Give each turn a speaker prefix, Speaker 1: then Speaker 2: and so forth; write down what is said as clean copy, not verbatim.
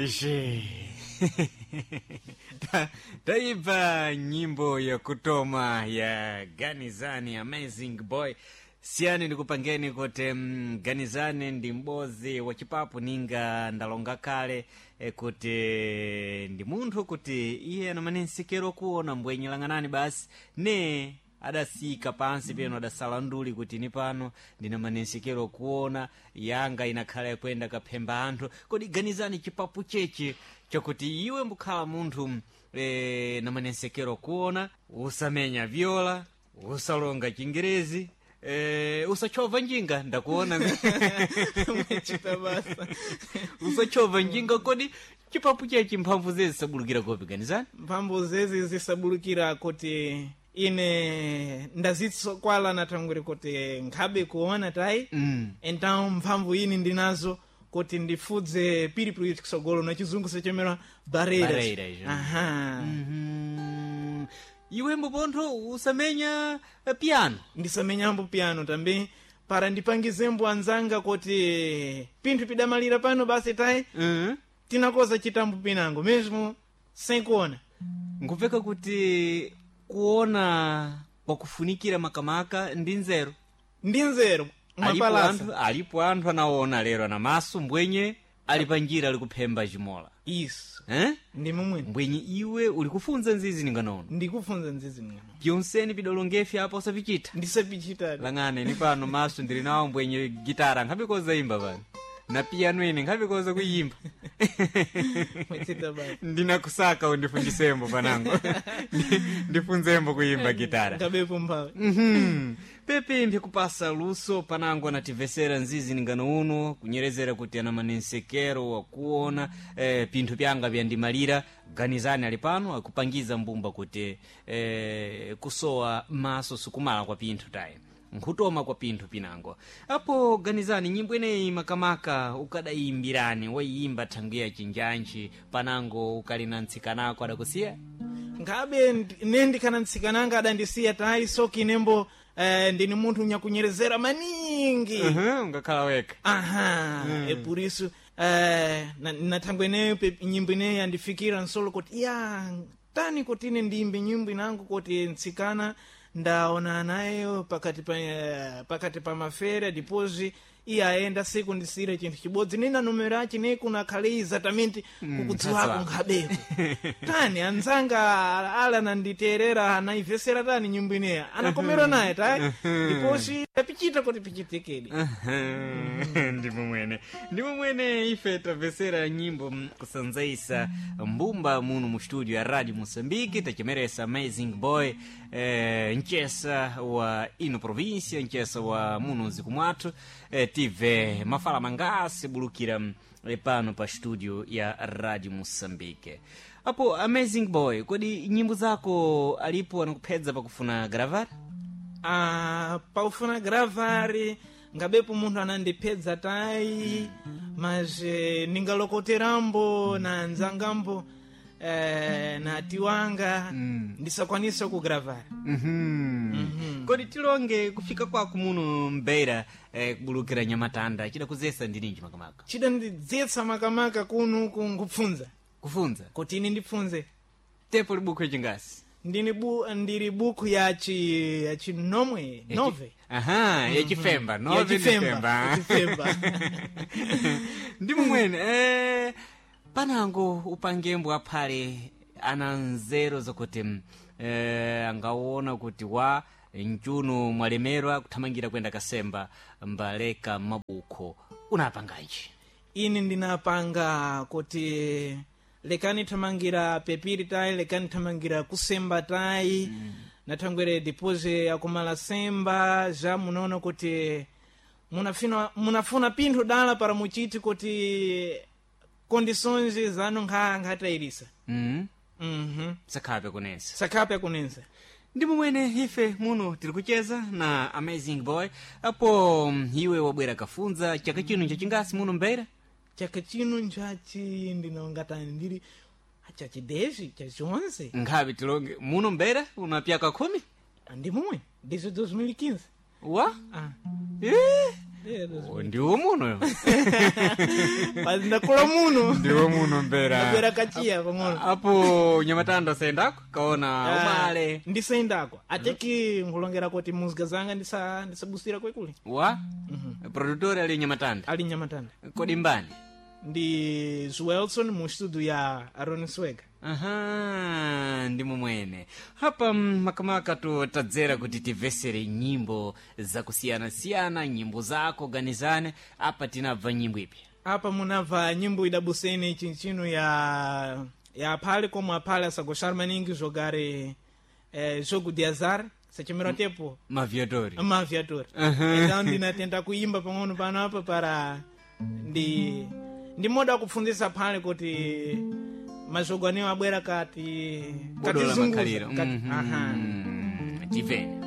Speaker 1: Je. Taipa nyimbo ya kutoma ya Ganizani Amazing Boy. Siyani ndikupangeni kuti Ganizani ndi m'bodzi wa chipapu ninga ndalonga kale kuti ndi munthu kuti iye anamane nsikero kuona mbwenye lang'anani basi ne adasika pansi peno adasala nduli kuti ni pano ndinamane nsikero kuona yanga inakhala yakwenda kaphemba anthu. Kodi Ganizani chipapu chechi chakuti iwe mbukhala munthu namane nsikero kuona usamenya viola, usalonga chingerezi, usachova njinga ndakuona.
Speaker 2: Mwechita basa.
Speaker 1: Usachova njinga. Kodi chipapu chechi mphamvu zezi zisabulukira kopi, Ganizani?
Speaker 2: Mphamvu zezi zisabulukira kuti ine ndazitsokwala natangwire kuti nkhabe kuona tayi. Então mphamvu ini ndinazo kuti ndifudze piripiri kusogolo na chizungu sechemera barreiras.
Speaker 1: Barreiras,
Speaker 2: Aha.
Speaker 1: Iwe mbopontho usamenya piano.
Speaker 2: Ndisamenyambo piano também para ndipangizembo anzanga kuti pinthu pidamalira pano basi tayi. Tinakoza chitambo pinango mesmo sem kuona.
Speaker 1: Nkupeka kuti kuona kwakufunikira makamaka ndi nzeru.
Speaker 2: Ndi nzeru.
Speaker 1: Alipo
Speaker 2: mwapalasa.
Speaker 1: anthu, alipo anthu anaona lero ana maso mbwenye ali panjira ali kuphemba chimola.
Speaker 2: Isso.
Speaker 1: Eh?
Speaker 2: Ndi momwene.
Speaker 1: Mbwenye iwe uli kufunza nzizi ninganono.
Speaker 2: Ndikufunza nzizi ningano.
Speaker 1: Pyonseni pidolongefi apa usapichita.
Speaker 2: Ndisapichita.
Speaker 1: Lang'ane ni pano maso ndili nawo mbwenye gitara nkhabikoza imba pano na piano ine nkhabikoza kuyimba.
Speaker 2: Mwechita basa.
Speaker 1: Ndinakusaka undifundisembo panango. Ndifunzembo kuyimba gitara.
Speaker 2: Ngabepo mphawi.
Speaker 1: Pepe mphikupasa luso panango anativesera nzizi ningano uno kunyerezera kuti ana manensekero wakuona pinthu pyanga pyandimalira. Ganizani ali pano akupangiza mbumba kuti kusowa maso sikumala kwa pinthu tayi, nkhutoma kwa pinthu pinango. Apo Ganizani, nyimbo ineyi makamaka ukadayimbirani wayimba thangiya chinjanji panango ukali na ntsikanako adakusiya?
Speaker 2: Ngabe ne ndikhana ntsikananga adandisiya tayi, soki inembo ndini munthu nyakunyerezera maningi.
Speaker 1: Ungakhala wekha.
Speaker 2: Aha. E por isso na thangwe ineyo nyimbo ineyo yandifikira nsolo kuti ya tani kuti ine ndiyimbe nyimbo inango kuti ntsikana ndaona nayo pakati pa pakati pa mafera, depois iye ayenda siku ndisire chinthu chibodzi nina numero achi ne kunakhale exatamente kukudziwako nkhabeko tani anzanga ala ananditerera anaivesera tani nyimbo ineya anakomera naye tayi, depois tapichita kuti pichitikedi.
Speaker 1: Ndimo mwene, ndimo mwene ife tamvesera nyimbo kusanzaisa mbumba muno mu studio ya Radio Moçambique. Tachemeresa Amazing Boy, nchesa wa ino província, nchesa wa muno mziku mwathu. Tive mafala mangasi bulukira pano pa studio ya Radio Moçambique. Apo Amazing Boy, kodi nyimbo zako alipo anakuphedza pakufuna gravar?
Speaker 2: Ah, paufuna gravari ngabepo munthu anandipedza tayi, mas ningalokoterambo na nzangambo na tiwanga ndisakwanisa kugravar.
Speaker 1: Kodi tilonge kufika kwako muno mbeira kubulukira nyamatanda chidakuzesa ndininji makamaka?
Speaker 2: Chidandidzietsa makamaka kuno nkupfunza.
Speaker 1: Kufunza.
Speaker 2: Kuti ine ndipfunze.
Speaker 1: Tepo libuku chingasi?
Speaker 2: Ndini ndiri buku yachi nomwe nove.
Speaker 1: Aha, yachifemba nove.
Speaker 2: Yachifemba.
Speaker 1: Ndifemba.
Speaker 2: Yachifemba.
Speaker 1: Ndimo mwene panango upangembo aphale ana nzeru zokuti angaona kuti wa mchuno mwalemerwa kuthamangira kwenda kasemba mbaleka mabukho unapanganji?
Speaker 2: Ine ndinapanga kuti lekani thamangira pepiri tayi, lekani thamangira kusemba tayi. Nathangwere depois akumala semba já munaona kuti munafuna pinthu dala para muchiti kuti condições zanu nkhatayirisa.
Speaker 1: Sakhape kunensa.
Speaker 2: Sakhape akunensa.
Speaker 1: Ndimo mwene ife muno tiri kucheza na Amazing Boy. Apo iwe wabwera kafunza chaka chino nchachingasi muno mbeira?
Speaker 2: Chaka chino nchachi ndinongatani ndiri chachi 10 chachi 11.
Speaker 1: Nkhabe tilonge muno mbeira una pyaka 10.
Speaker 2: Ndi momwe desde 2015.
Speaker 1: Wa.
Speaker 2: Ah.
Speaker 1: Eh, Oh, ndiwo muno.
Speaker 2: Basi ndakula muno.
Speaker 1: Ndiwo muno mbera.
Speaker 2: Ndabwera kachiya pang'ono.
Speaker 1: Apo nyamatanda sendako kaona umale.
Speaker 2: Ndisendako ateki nkulongera kuti muzika zanga ndisabusira kwekule.
Speaker 1: Wa produtor ali nyamatanda.
Speaker 2: Ali nyamatanda.
Speaker 1: Kodi mbani?
Speaker 2: Ndi Zwelson mu studio ya Aaron Swega.
Speaker 1: Aha, ndimo mwene hapa. Makamaka tutadzera kuti timvesere nyimbo zakusiyana-siyana, nyimbo zako ganizane. Apa tinabva nyimbo ipi?
Speaker 2: Apa munabva nyimbo idabusene chinchino ya aphale como aphale asagoxar maningi jogar jogo de azar sachemera tepo.
Speaker 1: Maviatori.
Speaker 2: Maviatori. Então ndinatenda kuimba pang'ono pano apa para ndi moda kupfundzisa phale kuti majogo anewo abwera kati
Speaker 1: Bodo la
Speaker 2: katizunguza
Speaker 1: makhaliro.
Speaker 2: kati, aha.
Speaker 1: Tivene.